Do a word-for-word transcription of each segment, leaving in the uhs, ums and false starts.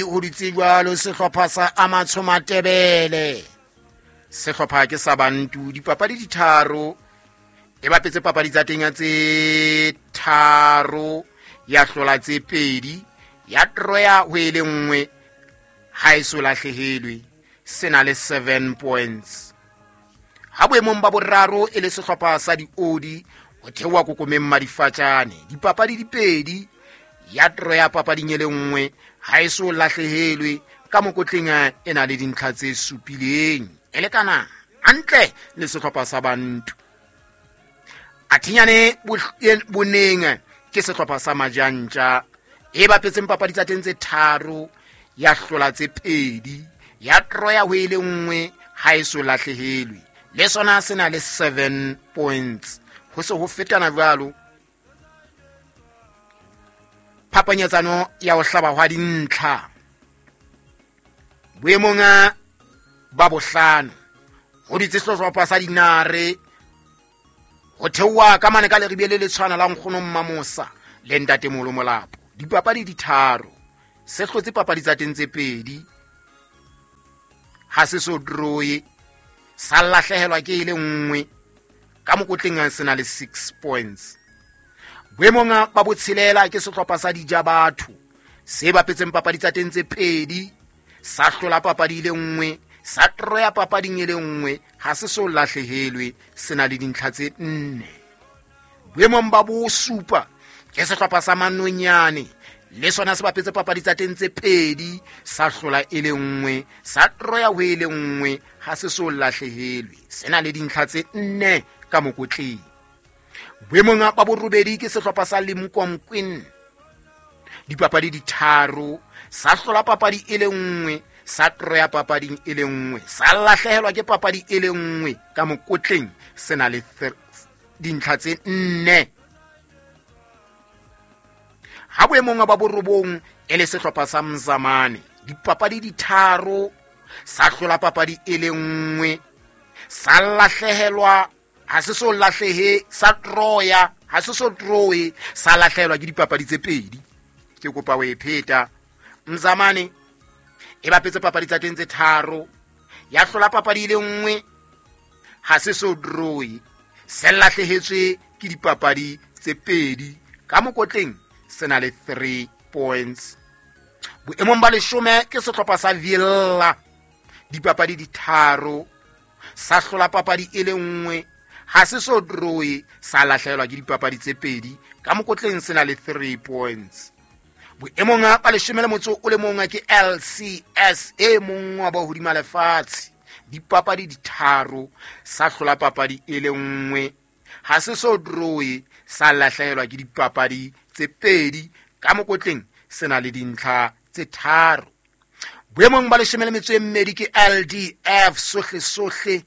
Ho dutse jwalo sehlopha sa Amatsho Matebele. Sehlopha ke sa Bantu, dipapadi di tharo. E bapetse papadi tsa teng tse tharo, ya hlola tse pedi, ya troya ho e le nngwe, ha e so lahlehelwe. Se na le seven points. Ha boemong ba boraro e le sehlopha sa Diodi, ho theoha kokomeng Madifatjane. Dipapadi di pedi, ya troya papading e le nngwe, ha e so lahlehelwe. Ka mokotleng e na le dintlha tse supileng, e lekana hantle le sehlopha sa Bantu. Athinyane boneng ke sehlopha sa Majantja, e bapetseng papadi tsa teng tse tharo, ya hlola tse pedi, ya troya ho e le nngwe, ha e so lahlehelwe. Le sona se na le seven points. Ho se ho fetana jwalo phapanyetsano ya ho hlaba hwa dintlha. Boemong ba bohlano ho dutse sehlopha sa Dinare, ho theoha ka mane ka leribe le letshwana la nkgono Mmamosa le ntatemoholo Molapo. Dipapadi di tharo, se hlotse papadi tsa teng tse pedi, ha se so droye, sa lahlehelwa ke e le nngwe. Ka mokotleng se na le six points. Boemong ba botshelela ke sehlopha sa Dijabatho, se bapetseng papadi tsa teng tse pedi, sa hlola papadi e le nngwe, sa troya papading e le nngwe, ha se so lahlehelwe, se na le dintlha tse nne. Boemong ba bosupa ke sehlopha sa Manonyane, le sona se bapetse papadi tsa teng tse pedi, sa hlola e le nngwe, sa troya ho e le nngwe, ha se so lahlehelwe, se na le dintlha tse nne ka mokotleng. Boemong ba borobedi ke sehlopha sa Limkomquin, dipapadi di tharo, sa hlola papadi e le nngwe, sa troya papading e le nngwe, sa lahlehelwa ke papadi e le nngwe, ka mokotleng se na le dintlha tse nne. Ha boemong ba borobong e le sehlopha sa Mzamane, dipapadi di tharo, sa hlola papadi e le nngwe, sa lahlehelwa, ha se so lahlehe, sa troya, ha se so troe, sa lahlehelwa ke dipapadi tse pedi. Ke kopa ho e pheta. Mzamane e bapetse papadi tsa teng tse tharo, ya hlola papadi e le nngwe, ha se so droe, se lahlehetswe ke dipapadi tse pedi. Ka mokotleng se na le three points. Boemong ba leshome ke sehlopha sa Villa, dipapadi di tharo, sa hlola papadi e le nngwe, ha se so droe, sa lahlehelwa ke dipapadi tse pedi. Ka mokotleng se na le three points. Boemong ba leshome le motso o le mong ke L C S, e mong wa ba hodima lefatshe, dipapadi di tharo, sa hlola papadi e le nngwe, ha se so droe, sa lahlehelwa ke dipapadi tse pedi. Ka mokotleng se na le dintlha tse tharo. Boemong ba leshome le metso e mmedi ke L D F, sohle sohle,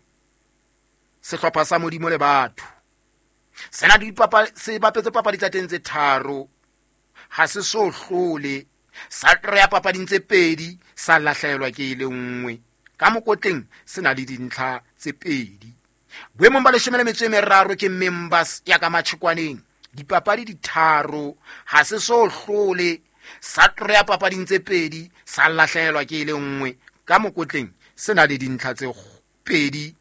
sehlopha sa Modimo le batho, se na le dipapadi, se bapetse papadi tsa teng tse tharo, ha se so hlole, sa troya papading tse pedi, sa lahlehelwa ke e le nngwe. Ka mokotleng se na le dintlha tse pedi. Boemong ba leshome le metso e meraro ke Members ya ka Matjhekwaneng, dipapadi di tharo, ha se so hlole, sa troya papading tse pedi, sa lahlehelwa ke e le nngwe. Ka mokotleng se na le dintlha tse pedi.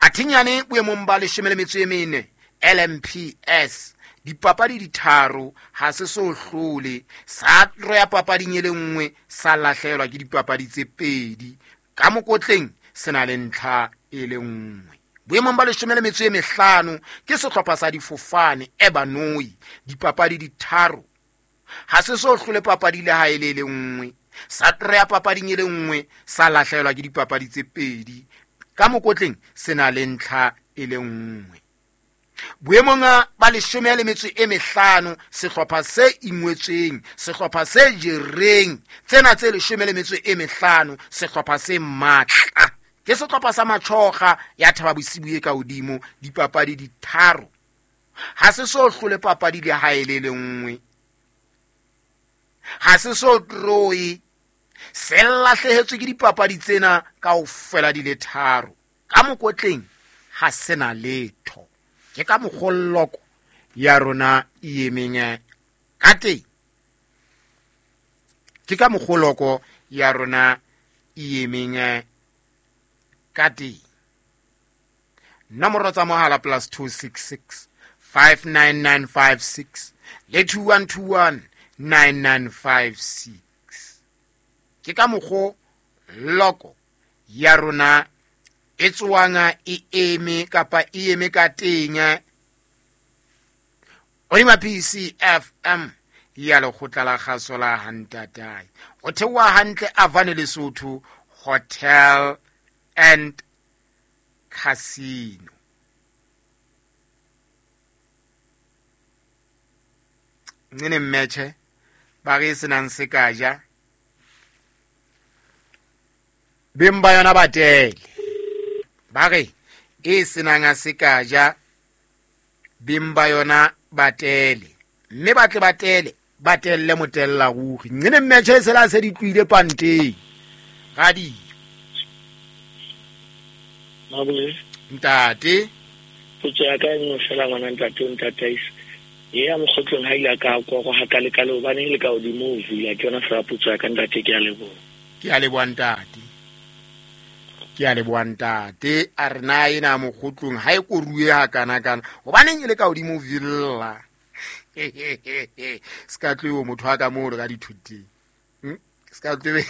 Athinyane boemong ba leshome le metso e mene L M P S, dipapadi di tharo, ha se so hlole, sa troya papading e le nngwe, sa lahlehelwa ke dipapadi tse pedi. Ka mokotleng se na le ntlha e le nngwe. Boemong ba leshome le metso e mehlano ke sehlopha sa Difofane Ebanoi, dipapadi di tharo, ha se so hlole papadi le ha e le le nngwe, sa troya papading e le nngwe, sa lahlehelwa ke dipapadi tse pedi. Ka mokotleng se na le ntlha e le nngwe. Boemong ba leshome le metso e mehlano, sehlopha se ingwetsweng, sehlopha se jereng tsena tse leshome le metso e mehlano, sehlopha se matla ke sehlopha sa Matjhoga ya Thaba Bosibu e ka hodimo, dipapadi di tharo, ha se so hlole papadi le ha e le le nngwe, ha se so troe, se lahlehetswe ke dipapadi tsena kaofela di le tharo. Ka mokotleng ha se na letho. Ke ka mokgolloko ya rona e emeng ka teng. Ke ka mokgoloko ya rona e emeng ka teng. Nomoro tsa mohala plus two six six five nine nine five six le two one two one nine nine five six. Ke ka mokgo loko ya rona e tswanga e eme kapa e eme ka teng. Oima P C F M ya lekgotla la kgaso la Hantatai. O theoha hantle Avane Lesotho Hotel and Casino. Nene mmetjhe ba re senang se ka ja beng ba yona ba tele. Ba re e senang a se ka ja beng ba yona ba tele. Mme ba tle ba tele ba telle motella ruri. Nene mmetjhe se la se di tlohile panteng. Radio. Mabule. Ntate. Potso ya ka e nngwe fela ngwana ntate o ntataisa. E ya mokgotlong ha ile ka kwa go ha ka le hobane le ka hodimo ho vula ke yona fela potso ya ka ntate, ke a leboha. Ke a leboha ntate. Ke a leboha ntate. A re na ena mokgotlong ha e koruwe ha kana kana. Hobaneng e le ka hodimo villa. Ska tlo motho wa ka moo re ka dithuteng. Hm? Ska tlo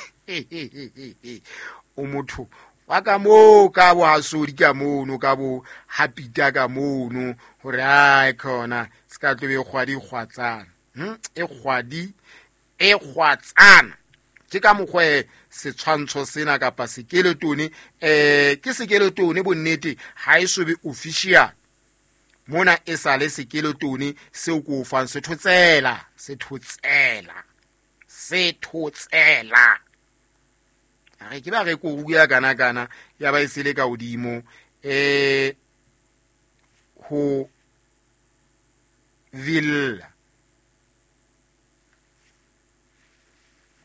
o motho wa ka moo ka bo hasodi ka mono ka bo hapita ka mono hore ai khona ska tlo be kgwadi kgwatsana. Hm? E kgwadi e kgwatsana. Ke ka mokgwe setshwantsho sena kapa sekeletone eh ke sekeletone bonnete ha e so be official. Mona e sale sekeletone seo ko fang sethotsela sethotsela sethotsela. A re ke ba re ko bua kana kana ya ba e sele ka hodimo eh ho villa.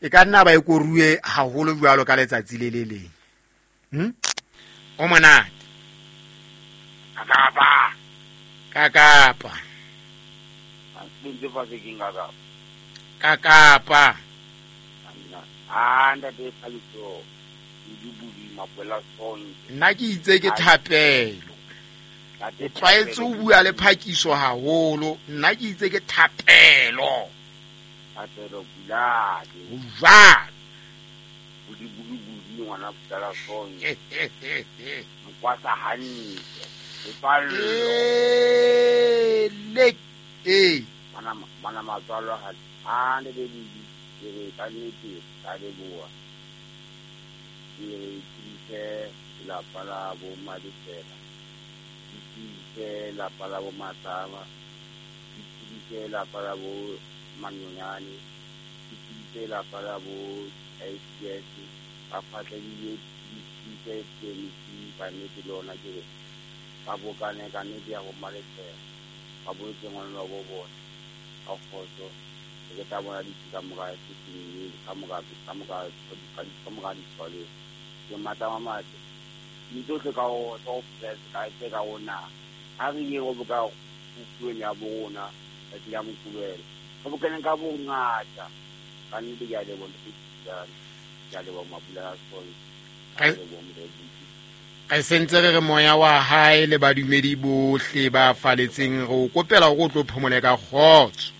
E ka nna ba e koruwe haholo jwalo ka letsatsi le le leng. Hm? O monate. Kakapa. Kakapa. Ntse fa se keng kakapa. Kakapa. Ah, ntate Phaliso. Dibudi mapela sonke. Nna ke itse ke thapelo. O tlwaetse ho bua le phakiso haholo. Nna ke itse ke thapelo. Thapelo buladi. Ho jwalo. Budi budi budi ngwana putala sonke. Mkwasa hantle. Lepallo. Eh, le eh. Bana bana matswalo ha a ne be budi. Ke re ka nnete ka leboha. Ke re tsebise lelapa la bo Madifela. Ke tsebise lelapa la bo Matlama. Ke tsebise lelapa la bo Manyonyane. Ke tsebise lelapa la bo S P S. Ba phatlebile ke tsebise T M C ka nnete le ona ke re ba bokane ka nnete ya bo Madifela. Ba boletse ngwana wa bo bona ka kgotso. Ke tla bona ditsi ka mora seseng ka mora ka mora ka mora ditshwale. Ke matla a matle. Ntsohle ka ho tsa ho ka tse ka rona. Ha re ye go boka puong ya bona tsatsi la Moqebelo. Re bokane ka bongata. Ka nnete ke a leboha ntate. Ke a leboha Mabula Sonke. Ke a leboha Morena. Re sentse re re moya wa hae le badumedi bohle ba faletseng re o kopela hore o tlo phomole ka kgotso.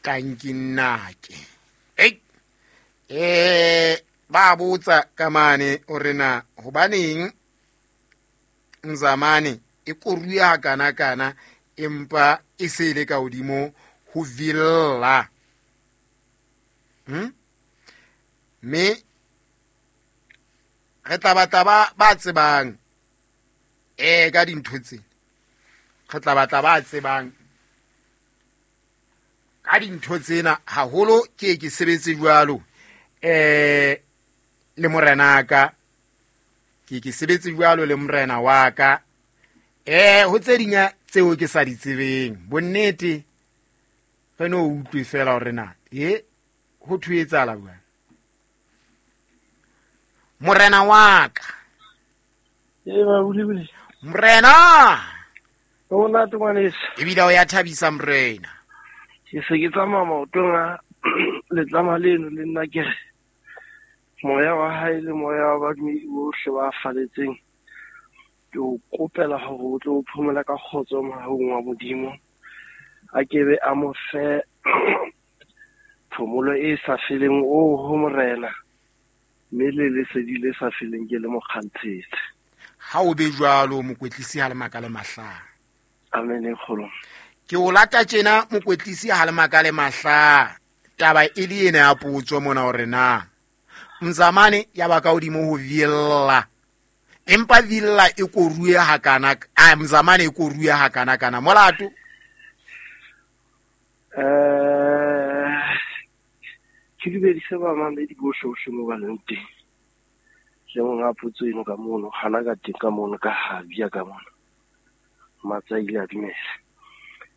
Tanki nnake. Ei. Eh ba botsa ka mane hore na hobaneng Mzamane e koruya kana kana empa e se ile ka hodimo ho villa. Hm? Me re tla batla ba ba tsebang eh ka dintho tsena. Re tla batla ba tsebang ka dintho tsena haholo ke ke sebetse jwalo eh le morena ka ke ke sebetse jwalo le morena wa ka eh ho tse ding tseo ke sa di tsebeng bonnete re no utlwe fela hore na e ho thuetsala bua morena wa ka e ba bulibuli morena o na tngwaneso e bile o ya thabisa morena. Ke se ke tsamaya maotong a letlama leno le nna ke re moya wa hae le moya wa badumedi bohle ba faletseng ke o kopela hore o tlo phomola ka kgotso mohaung wa Modimo. A ke be a mo fe phomolo e sa feleng o ho Morena, mme le lesedi le sa feleng ke le mo kgantshetse. Ha o be jwalo mokwetlisi ha le makale mahla. Amen e kgolo. Ke o lata tjena mokwetlisi ha le makale mahla. Taba e le ena ya potso mona hore na Mzamane ya ba ka hodimo ho Villa, empa Villa e koruwe hakana, a Mzamane e koruwe hakana kana molato. Eh ke dumedise bamamedi bohle bohle mo ba leng teng. Le monga potso eno ka mono, hana ka teng ka mono, ka habia ka mono. Matsa ile a dumela.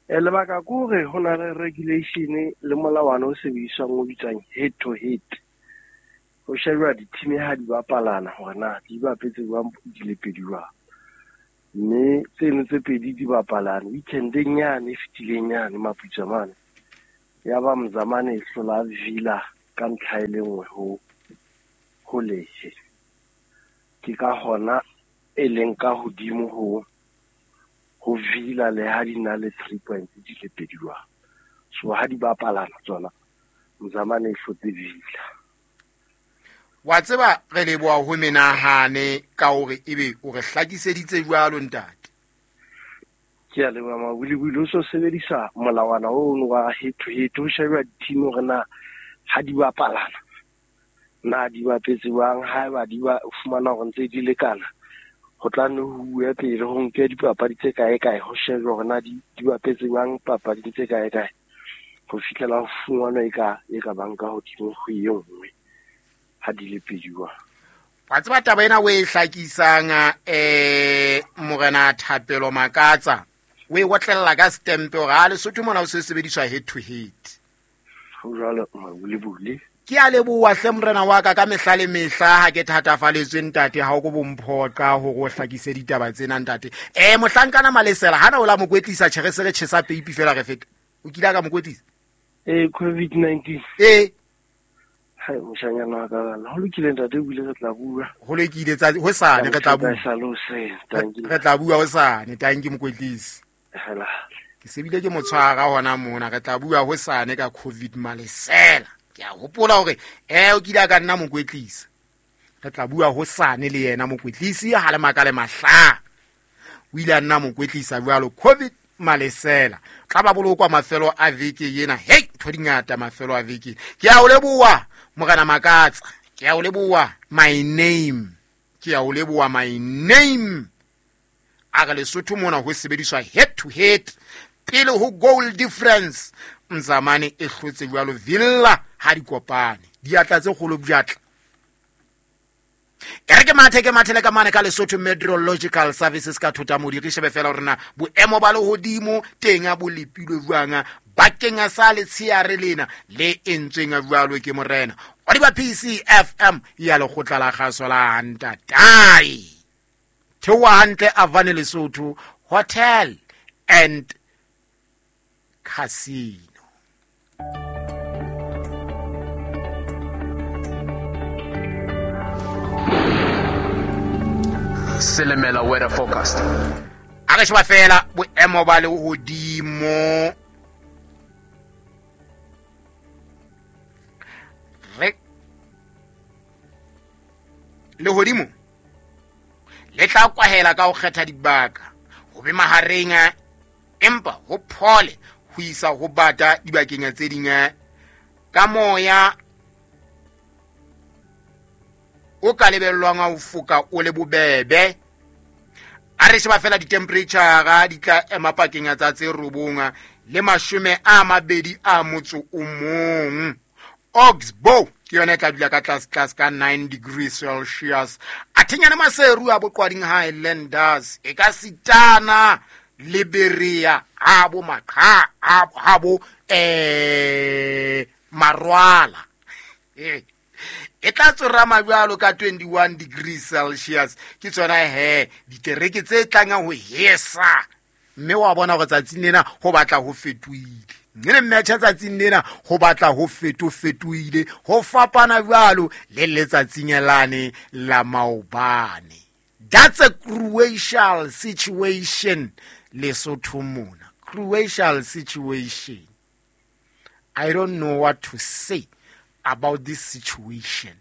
E lebaka ke hore ho na le regulation le molawana o sebediswang o bitswang head to head. Ho shejwa di-team ha di bapalana hore na di bapetse jwang di le pedi jwang. Mme tseno tse pedi di bapalane weekendeng yane e fetileng yane Maputswa mane. Ya ba Mzamane e hlola Villa ka ntlha e le nngwe ho ho lehe. Ke ka hona e leng ka hodimo ho ho Villa le ha di na le three points di le pedi jwang. So ha di bapalana tsona Mzamane e hlotse Villa. Wa tseba re leboha ho menahane ka hore ebe o re hlakiseditse jwalo ntate. Ke a leboha Mabulibuli, o so sebedisa molawana ono wa head to head ho sheba di-team hore na ha di bapalana na di bapetse jwang. Haeba di ba fumana hore ntse di lekana, ho tla nne ho uwe pele ho nke dipapadi tse kae kae ho shejwe hore na di di bapetse jwang papading tse kae kae ho fihlela ho fumanwa e ka e ka bang ka hodimo ho e nngwe ha di le pedi jwang. Wa tseba taba ena o e hlakisang eh Morena Thapelo Makatsa o e otlella ka stempe hore ha Lesotho mona o se sebediswa head to head. Ho jwalo Mabulibuli. Ke a leboha hle morena wa ka ka mehla le mehla ha ke thatafaletswe ntate ha o ko bomphoqa hore o hlakise ditaba tsena ntate. Eh mohlankana Malesela hana o la mokwetlisa tjhe re se re tjhesa peipi fela re feta. O kile ka mokwetlisa? Eh COVID nineteen. Eh Hai moshanyana wa ka bana. Ho lokile ntate, o bile re tla bua. Ho lokile tsa hosane re tla bua. Re tla bua hosane, tanki mokwetlisi. Hela. Ke sebile ke motshwara hona mona, re tla bua hosane ka COVID Malesela. Ke a hopola hore eh o kile ka nna mokwetlisi. Re tla bua hosane le yena mokwetlisi ha le makale mahla. O ile a nna mokwetlisa jwalo COVID Malesela. Tla ba bolokwa mafelo a veke yena. Hey, ntho di ngata mafelo a veke. Ke a o leboha Morena Makatsa. Ke a o leboha my name. Ke a o leboha my name. A re Lesotho mona ho sebediswa head to head pele ho goal difference. Mzamane e hlotse jwalo Villa ha di kopane. Diatla tse kgolo bjatla. E re ke mathe ke mathele ka mane ka Lesotho Meteorological Services ka thota modi re shebe fela hore na boemo ba lehodimo teng a bo lepilwe jwang bakeng sa letsheare lena le entsweng jwalo ke morena. Wa di ba P C F M ya lekgotla la kgaso la Ntatai. Theoha hantle Avane Lesotho Hotel and Casino. Selemela weather forecast. A re sheba fela boemo ba lehodimo. Re lehodimo le tla kwahela ka ho kgetha dibaka ho be mahareng empa ho phole ho isa ho bata dibakeng tse ding ka moya o ka lebellwang ho foka o le bobebe. A re sheba fela di-temperature di tla ema pakeng tsa tse robong le mashome a mabedi a motso o mong. Oxbow ke yona e tla dula ka tlase tlase ka nine degrees Celsius. A thenyana Maseru a boqwading Highlanders e ka sitana le Berea a bo Maqa a bo eh Marwala. Eh e tla tsorama jwalo ka twenty-one degrees Celsius. Ke tsona he ditereke tse tlang ho hesa mme wa bona hore tsatsing lena ho batla ho fetohile. Mme le match tsatsing lena ho batla ho fetofetohile, ho fapana jwalo le letsatsing lane la maobane. That's a crucial situation Lesotho mona. Crucial situation. I don't know what to say about this situation.